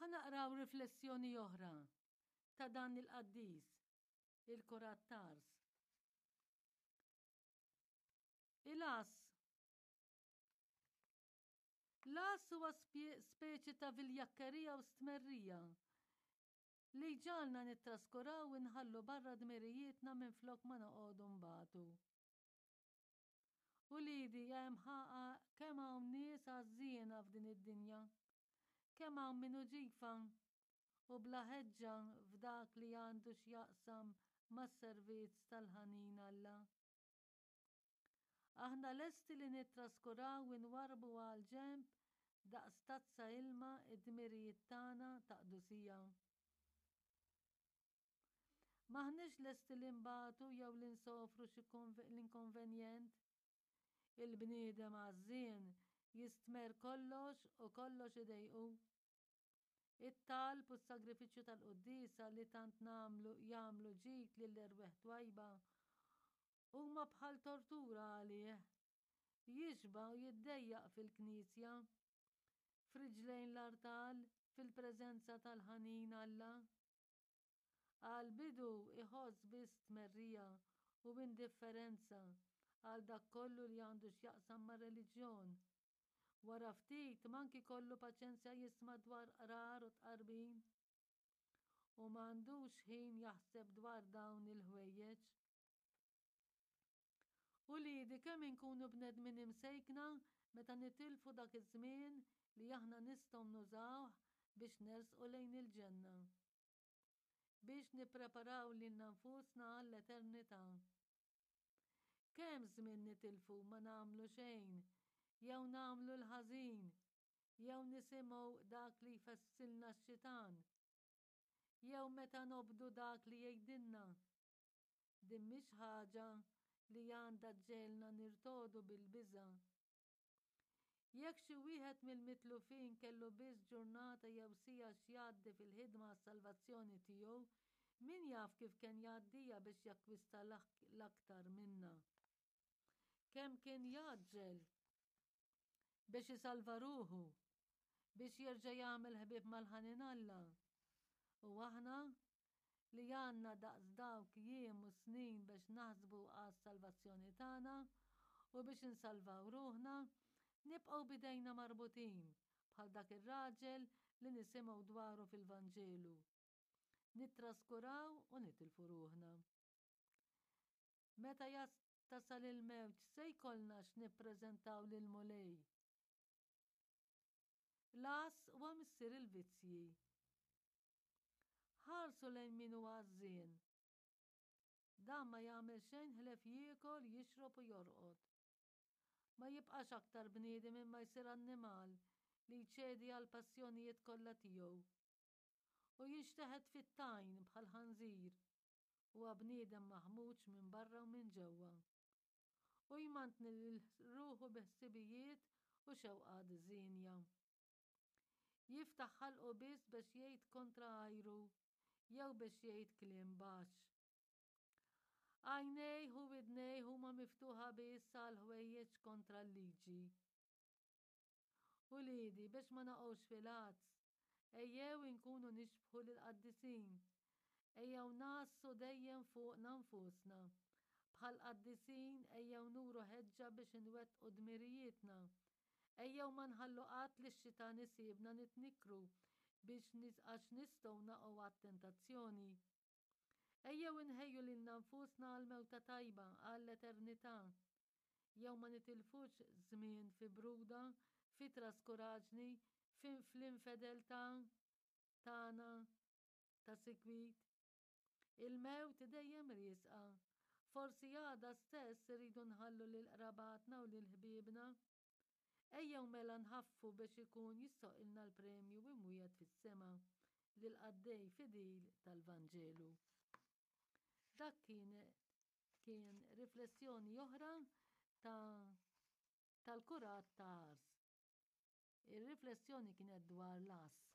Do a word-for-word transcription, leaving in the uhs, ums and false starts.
Ħa naqraw riflessjoni oħra ta' dan il-qaddis, il-Kurat t'Ars. Il-għażż. L-għażż huwa speċi ta' viljakkerija u stmerrija li jġagħalna nittraskuraw u nħallu barra dmirijietna minflok ma noqogħdu nbatu. Uliedi, hemm ħaqa kemm hawn nies għażżiena f'din id-dinja. Kemm hawn min hu ġifa u bla ħeġġa f'dak li għandu x'jaqsam mas-servizz tal-ħanin Alla. Aħna lesti li nittraskuraw u nwarrbu għal ġenb daqs tazza ilma id-dmirijiet tagħna ta' qdusija. M'aħniex lesti li nbatu jew li nsofru xi l-inkonvenjent. Il-bniedem għażżien jistmerr kollox u kollox idejqu. It-talb u s-sagrifiċċju tal-quddiesa li tant nagħmlu jagħmlu ġid lill-erwieħ twajba huma bħal tortura għalih. Jixba' u jiddejjaq fil-knisja, f'riġlejn l-artal, fil-preżenza tal-ħanin Alla. Għall-bidu iħoss biss tmerrija u indifferenza għal dak kollu li għandu x'jaqsam mar-reliġjon. Wara ftit mank ikollu paċenzja jisma' dwar qrar u tqarbin. U m'għandux ħin jaħseb dwar dawn il-ħwejjeġ. Uliedi, kemm inkunu bnedmin imsejkna meta nitilfu dak iż-żmien li aħna nistgħu nużawh biex nersqu lejn il-ġenna. Biex nippreparaw lilna nfusna għall-eternità. Kemm żmien nitilfu ma nagħmlu xejn, jew nagħmlu l-ħażin, jew nisimgħu dak li jfessilna x-xitan, jew meta nobdu dak li jgħidilna. Din mhix ħaġa li għandha ġġegħelna nirtogħdu bil-biża'. Jekk xi wieħed mill-mitlufin kellu biss ġurnata jew siegħa x'jgħaddi fil-ħidma għas-salvazzjoni tiegħu, min jaf kif kien jgħaddiha biex jakkwista l-aktar minnha. Kemm kien jgħaġġel biex isalva ruħu, biex jerġa' jagħmel ħbieb mal-ħanin Alla. U aħna li għandna daqs dawk jiem u snin biex naħsbu għas-salvazzjoni tagħna u biex insalvaw ruħna, nibqgħu bidejna marbutin bħal dak ir-raġel li nisimgħu dwaru fil-Vanġelu. Nittraskuraw u nitilfu ruħna. Meta tasal il-mewt se jkollna x'nippreżentaw lill-Mulej. L-għażż huwa missier il-vizzji. Ħarsu lejn min hu għażżien. Dan ma jagħmel xejn ħlef jiekol, jixrob u jorqod. Ma jibqax aktar bniedem imma jsir annimal li jċedi għal passjonijiet kollha tiegħu. U jinxteħet fit-tajn bħal ħanżir. Huwa bniedem maħmuġ minn barra u minn ġewwa. U jmantni lil ruħu bi ħsibijiet u xewqat żienja. Jiftaħ ħalqu biss biex jgħid kontra għajru jew biex jgħid kliem baxx. Għajnejh u widnejh huma miftuħa biss għal ħwejjeġ kontra l-liġi. Uliedi, biex ma naqgħux fil-għażż, ejjew inkunu nixbħu lill-qaddisin. Ejjew ngħassu dejjem fuqna nfusna. Bħall-qaddisin ejjew nuru ħeġġa biex inwettqu dmirijietna. Ejjew ma nħallu qatt li x-xitan isibna nitnikkru biex għax nistgħu naqgħu għat-tentazzjoni. Ejjew inħejju lilna nfusna għal mewta tajba, għall-eternità. Jew ma nitilfux żmien fi bruda, fi traskuraġni, fi fl-infedeltà tagħna ta' sikwit. Il-mewt dejjem riesqa. Forsi għada stess irridu nħallu lil qrabatna u lil ħbiebna. Ejjew mela nħaffu biex ikun jistħoqqilna l-premju imwiegħed fis-sema lill-qaddej fidil tal-Vanġelu. Dak kien kien riflessjoni oħra ta' tal-kurat ta' Ars. Ir-riflessjoni kienet dwar l-għażż.